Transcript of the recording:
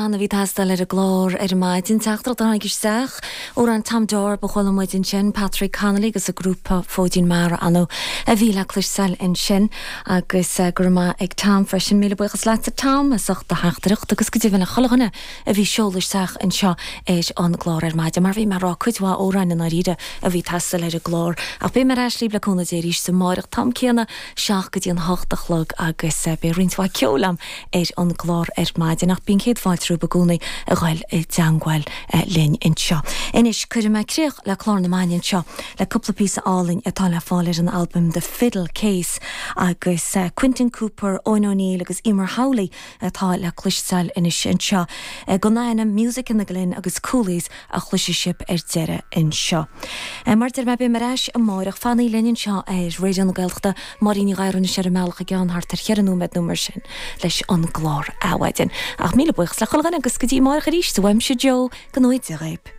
Amhrán a bhí ag teastáil ar an gclár ar maidin. Teachtaireacht a tháinig isteach. Amhrán Tom Dorb a chuala muid ansin, Patrick Connolly agus a grúpa Fóidín Mara ann a bhí le cloisteáil ansin. Agus go raibh maith ag Tom freisin. Míle buíochas leatsa Tom as ucht do theachtaireacht agus go deimhin le chuile dhuine a bhí ag seoladh isteach anseo ar an gclár ar maidin. Mar bhí mé ag rá, cuid mhaith amhráin i ndáiríre a bhí ag teastáil ar an gclár. Ach beidh mé ar ais libh le cúnamh Dé arís amáireach, t-am céanna, 7 go dtí an 8 a chlog agus beidh roinnt mhaith ceoil a'm ar an gclár ar maidin ach bíonn céad fáilte romhaibh i gcónaí a ghoil i dteangmháil linn anseo. Anois cuirfidh mé críoch le clár na maidine anseo le cúpla píosa álainn atá le fáil ar an albam The Fiddle Case agus Quinton Cooper, Eoin O'Neill agus Emer Howley atá le cloisteáil anois anseo. Gan ainm, Music in the Glen agus Coolies a chloisfidh sibh ar deireadh anseo. Mar a deir mé, beidh mé ar ais amáireach. Fanaigí linn anseo ar Raidió na Gaeltachta. Máirín Ní Ghadhra anois ar an mbealach i gceann thart ar cheithre nóiméad nó mar sin leis an gclár Adhmhaidin. Ach míle buíochas le chuile dhuine agus go dtí amáireach arís, uaimse Joe, go ngnóthaí Dia dhaoib.